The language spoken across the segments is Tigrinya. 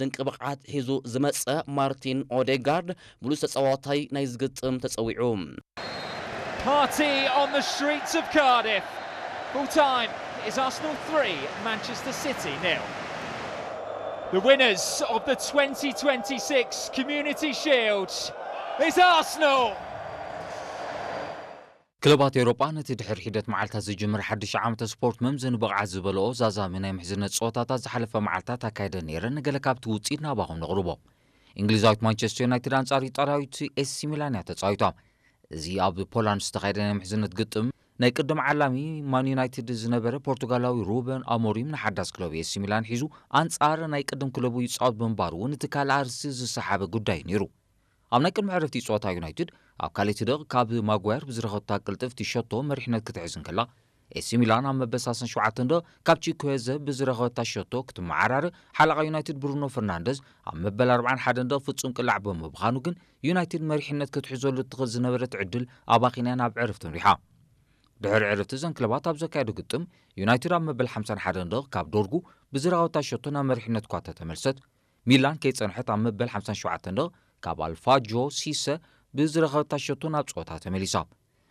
ድንቂ ብቕዓት ሒዙ ዝመጸ ማርቲን ኦዴጋርድ ብሉጽ ተጻዋታይ ናይ ዝግጥም ተጸዊዑ። Party on the streets of Cardiff. Full time is Arsenal three, Manchester City nil. The winners of the twenty twenty-six Community Shield is Arsenal. ክለባት ኤውሮጳ ነቲ ድሕሪ ሒደት መዓልታት ዝጅምር ሓድሽ ዓመተ ስፖርት መምዘኒ ብቕዓት ዝበልኦ ዛዛሚ ናይ ምሕዝነት ጸወታታት ዝሓለፈ መዓልታት ኣካይደን ነይረን። ገለ ካብቲ ውጽኢት ናባኹም ነቕርቦ። እንግሊዛዊት ማንቸስተር ዩናይትድ ኣንጻር ኢጣልያዊት ኤሲ ሚላን እያ ተጻዊታ። እዚ ኣብ ፖላንድ ዝተኻየደ ናይ ምሕዝነት ግጥም ናይ ቅድም ዓላሚ ማን ዩናይትድ ዝነበረ ፖርቱጋላዊ ሩበን ኣሞሪም ንሓዳስ ክለቡ ኤሲ ሚላን ሒዙ ኣንጻር ናይ ቅድም ክለቡ ይጻወት ብምንባሩ እውን እቲ ካልእ ኣርእስቲ ዝሰሓበ ጉዳይ ነይሩ። ኣብ ናይ ቅድሚ ዕረፍቲ ጸወታ ዩናይትድ ኣብ ካልኣይቲ ደቕ ካብ ማጓየር ብዝረኸብታ ቅልጥፍቲ ሸቶ መሪሕነት ክትሕዝ እንከላ፣ ኤሲ ሚላን ኣብ መበል ሰላሳን ሸውዓተን ደቕ ካብ ቺኩዌዘ ብዝረኸበታ ሸቶ ክትመዓራረ ሓለቓ ዩናይትድ ብሩኖ ፈርናንደዝ ኣብ መበል ኣርባዓን ሓደን ደቕ ፍጹም ቅላዕ ብምብኻኑ ግን ዩናይትድ መሪሕነት ክትሕዘሉ እትኽእል ዝነበረት ዕድል ኣባኺናያ ናብ ዕረፍቲ ኣምሪሓ። ድሕሪ ዕረፍቲ እዘን ክለባት ኣብ ዘካየዶ ግጥም ዩናይትድ ኣብ መበል ሓምሳን ሓደን ደቕ ካብ ዶርጉ ብዝረኸበታ ሸቶ ናብ መሪሕነት እኳ ተተመልሰት፣ ሚላን ከይጸንሐት ኣብ መበል ሓምሳን ሸውዓተን ደቕ ካብ ኣልፋጆ ሲሰ ብዝረኸበታ ሸቶ ናብ ጸወታ ተመሊሳ።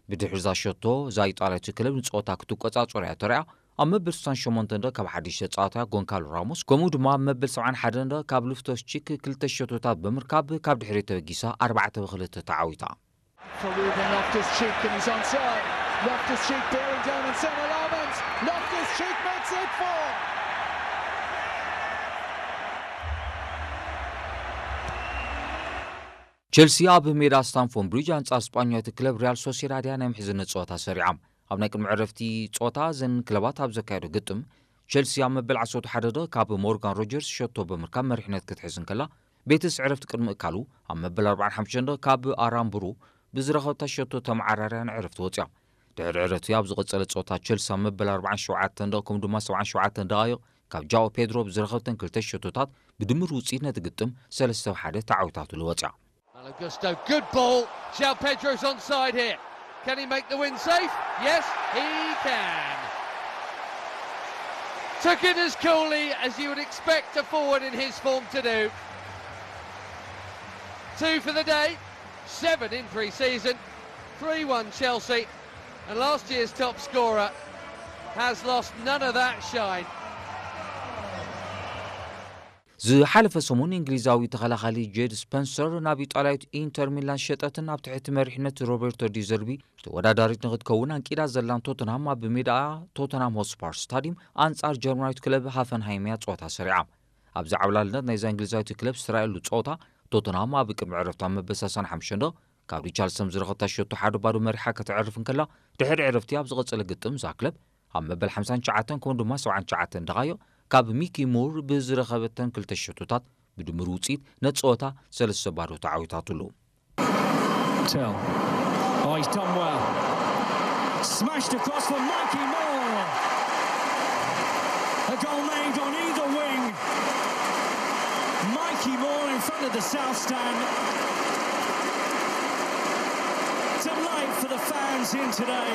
ብድሕሪ እዛ ሸቶ እዛ ኢጣልያዊት ክለብ ንጸወታ ክትቆጻጸሮ እያ ተራእያ። ኣብ መበል ስሳን ሸሞንተን ደቕ ካብ ሓድሽ ተጻዋታይ ጎንካሎ ራሞስ ከምኡ ድማ ኣብ መበል ሰብዓን ሓደን ደቕ ካብ ሉፍቶስ ቺክ ክልተ ሸቶታት ብምርካብ ካብ ድሕሪት ተበጊሳ ኣርባዕተ ብክልተ ተዓዊታ። For Ruben Loftus-Cheek and he's onside. Loftus-Cheek bearing down on Saint Laurent. Loftus-Cheek makes it four. ቸልሲ ኣብ ሜዳ ስታንፎርድ ብሪጅ ኣንጻር ስጳኛዊት ክለብ ሪያል ሶሴዳድ እያ ናይ ምሕዝነት ጸወታ ሰሪዓ። ኣብ ናይ ቅድሚ ዕረፍቲ ጸወታ እዘን ክለባት ኣብ ዘካየዶ ግጥም ቸልሲ ኣብ መበል ዓሰርተ ሓደ ደቕ ካብ ሞርጋን ሮጀርስ ሸቶ ብምርካብ መሪሕነት ክትሕዝ እንከላ፣ ቤትስ ዕረፍቲ ቅድሚ እካሉ ኣብ መበል ኣርባዓን ሓሙሽተን ደቕ ካብ ኣራምብሩ ብዝረኸብታ ሸቶ ተመዓራርያ ንዕረፍቲ ወጽያ። ድሕሪ ዕረፍቲ ኣብ ዝቐጸለ ጸወታ ቸልሲ ኣብ መበል ኣርባዓን ሸውዓተን ደቕ ከምኡ ድማ ሰብዓን ሸውዓተን ደቓይቕ ካብ ጃኦ ፔድሮ ብዝረኸብተን ክልተ ሸቶታት ብድምር ውጽኢት ነቲ ግጥም ሰለስተ ብሓደ ተዓዊታትሉ ወጽያ። Malo Gusto, good ball. João Pedro's onside here. Can he make the win safe? Yes, he can. Took it as coolly as you would expect a forward in his form to do. Two for the day, seven in pre season, three one Chelsea, and last year's top scorer has lost none of that shine. ዝሓለፈ ሰሙን እንግሊዛዊ ተኸላኻሊ ጄድ ስፐንሰር ናብ ኢጣልያዊት ኢንተር ሚላን ሸጠትን ኣብ ትሕቲ መሪሕነት ሮቤርቶ ዲዘርቢ ተወዳዳሪት ንክትከውን ኣንቂዳ ዘላን ቶተንሃም ኣብ ሜዳ ቶተንሃም ሆትስፓር ስታዲየም ኣንጻር ጀርመናዊት ክለብ ሃፈንሃይም እያ ጸወታ ሰሪዓ። ኣብዚ ዓብላልነት ናይዛ እንግሊዛዊት ክለብ ዝተራእየሉ ጸወታ ቶተንሃም ኣብ ቅድሚ ዕረፍቲ ኣብ መበል ሰላሳን ሓሙሽተን ደቕ ካብ ሪቻርልሰን ዝረኸብታ ሸቶ ሓደ ባዶ መሪሓ ከተዕርፍ እንከላ፣ ድሕሪ ዕረፍቲ ኣብ ዝቐጸለ ግጥም እዛ ክለብ ኣብ መበል ሓምሳን ትሽዓተን ከምኡ ድማ ሰብዓን ትሽዓተን ደቓይቕ ካብ ሚኪ ሙር ብዝረኸበተን ክልተ ሸቶታት ብድምር ውጽኢት ነቲ ጸወታ ሰለስተ ባዶ ተዓዊታትሉ። Tell. Oh, he's done well. Smashed across for Mikey Moore. A goal made on either wing. Mikey Moore in front of the South Stand. Delight for the fans in today.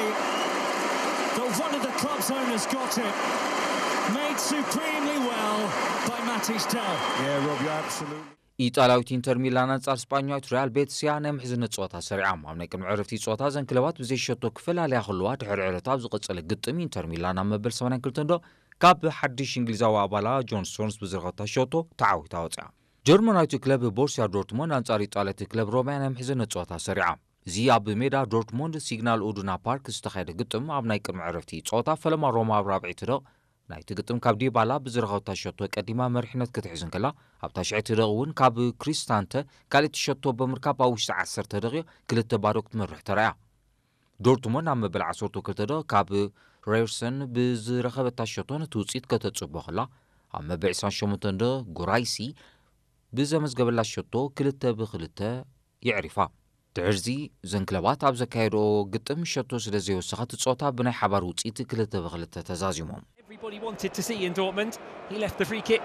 But one of the club's owners got it. Made supremely well by Mattis Dell. Yeah, Rob, you're absolutely. ኢጣልያዊት ኢንተር ሚላን ኣንጻር ስጳኛዊት ሪያል ቤትስ እያ ናይ ምሕዝነት ጸወታ ሰሪዓ። ኣብ ናይ ቅድሚ ዕረፍቲ ጸወታ እዘን ክለባት ብዘይ ሸቶ ክፈላለያ ከለዋ፣ ድሕሪ ዕረፍቲ ኣብ ዝቐጸለ ግጥም ኢንተር ሚላን ኣብ መበል ሰማንያን ክልተን ደቕ ካብ ሓድሽ እንግሊዛዊ ኣባላ ጆን ስቶንስ ብዝረኸብታ ሸቶ ተዓዊታ ወጽያ። ጀርመናዊት ክለብ ቦርሲያ ዶርትሞንድ ኣንጻር ኢጣልያዊት ክለብ ሮማ እያ ናይ ምሕዝነት ጸወታ ሰሪዓ። እዚ ኣብ ሜዳ ዶርትሞንድ ሲግናል ኡዱና ፓርክ ዝተኻየደ ግጥም ኣብ ናይ ቅድሚ ዕረፍቲ ጸወታ ፈለማ ሮማ ኣብ ራብዒቲ ደቕ ናይቲ ግጥም ካብ ዲባላ ብዝረኸብታ ሸቶ ቀዲማ መሪሕነት ክትሕዝ እንከላ፣ ኣብ ታሽዐይቲ ደቕ እውን ካብ ክሪስታንተ ካልእቲ ሸቶ ብምርካብ ኣብ ውሽጢ ዓሰርተ ደቂቕ ክልተ ባዶ ክትመርሕ ተራእያ። ዶርትሞንድ ኣብ መበል ዓሰርተ ክልተ ደቕ ካብ ሬርሰን ብዝረኸበታ ሸቶ ነቲ ውጽኢት ከተጽቦ ከላ፣ ኣብ መበል ዕስራን ሸሞንተን ደቕ ጉራይሲ ብዘመዝገበላ ሸቶ ክልተ ብክልተ የዕሪፋ። ድሕርዚ እዘን ክለባት ኣብ ዘካየድኦ ግጥም ሸቶ ስለ ዘይወሰኻ እቲ ጸወታ ብናይ ሓባር ውጽኢት ክልተ ብክልተ ተዛዚሞም። Everybody wanted to see in Dortmund. He left the free kick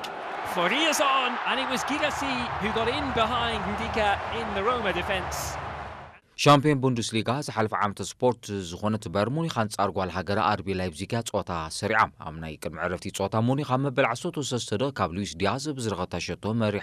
for Riazon, and it was Guirassy who got in behind Ndika in the Roma defence. ሻምፒዮን ቡንደስሊጋ ዝሓለፈ ዓመተ ስፖርት ዝኾነት ባየር ሙኒኽ ኣንጻር ጓል ሃገራ ኣርቢ ላይፕዚግ እያ ጸወታ ሰሪዓ። ኣብ ናይ ቅድሚ ዕረፍቲ ጸወታ ሙኒኽ ኣብ መበል ዓሰርተ ሰለስተ ደቂቕ ካብ ሉዊስ ዲያዝ ብዝረኸበታ ሸቶ መሪሕ